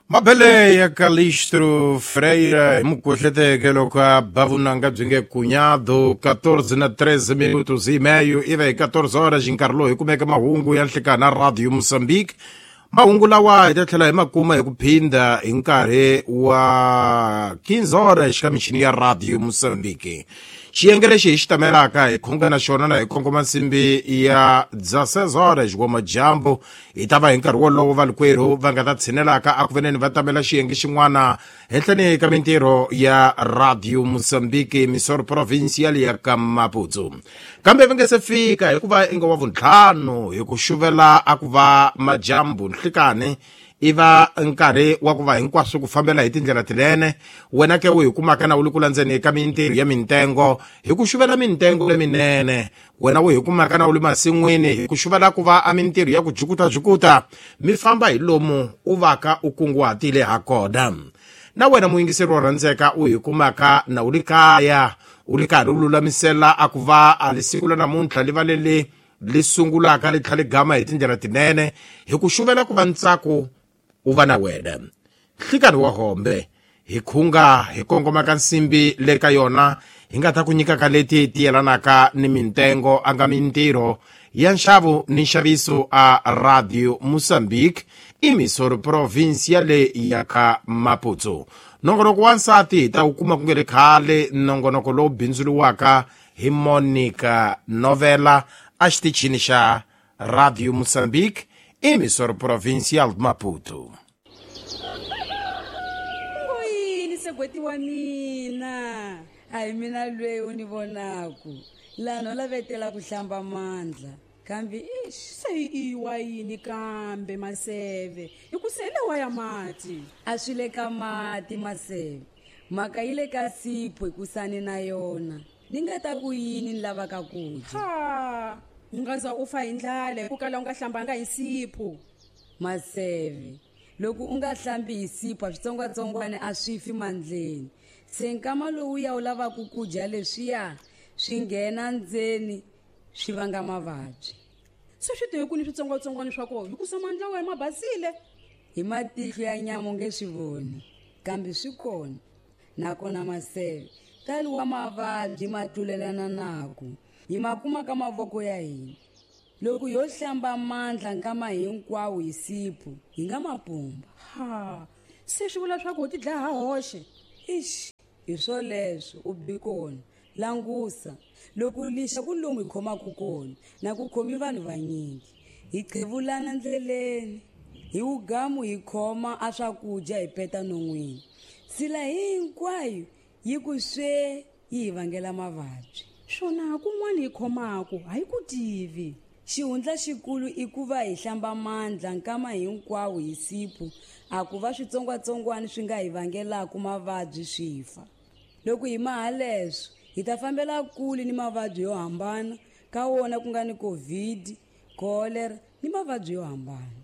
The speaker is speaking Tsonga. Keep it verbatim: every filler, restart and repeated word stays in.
Mabele ya Calixto Freire hi mukuhleteke loko a ba vunanga byi nge cuñado quatorze na treze minutos e meio ive hi quatorze horas hi nkarhi lowu hi kumeke mahungu ya nhlikana Radio Mozambique. Mahungu lawa hi ta tlhela hi ma kuma hi ku phinda hi nkarhi wa quinze horas ka michini ya Radio Mozambique. Xiyenge lexi hi xi tamelaka hi khunga na xona na hi kongoma nsimbi ya dezesseis horas wa madyambu hi ta va hi nkarhi wolowo valikwerhu va nga ta tshinelaka a ku veneni va tamela xiyenge xin'wana henhleni ka mintirho ya Radio Mozambique Emissora Provincial ya ka Maputo. Kambe va nge se fika hikuva i nga wa vuntlhanu hi ku xuvela a ku va madyambu nhlikani i va nkarhi wa ku va hinkwaswo ku fambela hi tindlela tinene. Wena ke u hi kumaka na u le ku landzeni ka mintirho ya mintengo hi ku xuvela mintengo leminene. Wena u hi kumaka na u le masin'wini hi ku xuvela ku va a mintirho ya ku jukutajukuta mi famba hi lomu u vaka u kunguhatile ha kona. Na wena muyingiseri wo rhandzeka u hi kumaka na u le kaya u ri karhi u lulamisela a ku va a lisiku la namuntlha li va leli li sungulaka li tlhela li gama hi tindlela tinene hi ku xuvela ku va ntsako u va na wena. Nhlikani wa hombe hi khunga hi kongoma ka nsimbi le ka yona hi nga ta ku nyika ka leti ti yelanaka ni mintengo a nga mintirho ya nxavo ni nxaviso a Radio Mozambique Emissora Provincial ya ka Maputo. Nongonoko wa nsati hi ta wu kuma ku nge ri khale, nongonoko lowu bindzuriwaka hi Monica Novela a xitichini xa Radio Mozambique Emissora Provincial Maputo. Ngoyini segweti wa mina? A hi mina lweyi u ni vonaku laha no lavetela ku hlamba mandla kambe ix Se i wa yini kambe Maseve? Hi ku se lawa ya mati. A swi le ka mati Maseve, mhaka yi le ka sipho hikusani na yona ni nga ta ku yini ni lavaka ku dya. Ha, u nga za u fa hi ndlala hi ku kala u nga hlambanga hi sipho. Maseve, loko u nga hlambi hi sipho a switsongwatsongwana a swi fi mandleni. Se nkama lowuya u lavaka ku dya leswiya swi nghena ndzeni swi vanga mavabyi. Se swi te ku ni switsongwatsongwana swa kona hikusa mandla wa ma basile. Hi matihlo ya nyama u nge swi voni kambe swi kona. Nakona Maseve, tali wa mavabyi ma tlulelana naku hi ma kuma ka mavoko ya hina. Loko yo hlamba mandla nkama hinkwawo hi sipho hi nga ma pumba. Ha, se swi vula swa ku u ti dlaya ha hoxe. Ix, hi swoleswo u bi kona. Langusa loko lixa ku lomu hi khomaka kona na ku khomi vanhu vanyingi hi qhevulana ndleleni hi wugamu hi khoma a swakudya hi peta non'wini. Sila hinkwayo yi ku swe yi hi vangela mavabyi. Swona kun'wana hi khomaka a hi ku tivi. Xihundla xikulu i ku va hi hlamba mandla nkama hinkwawo hi sipho a ku va switsongwatsongwana swi nga hi vangelaka mavabyi swi fa. Loko hi maha leswo hi ta fambela kule ni mavabyi yo hambana ka wona ku nga ni COVID, cholera ni mavabyi yo hambana.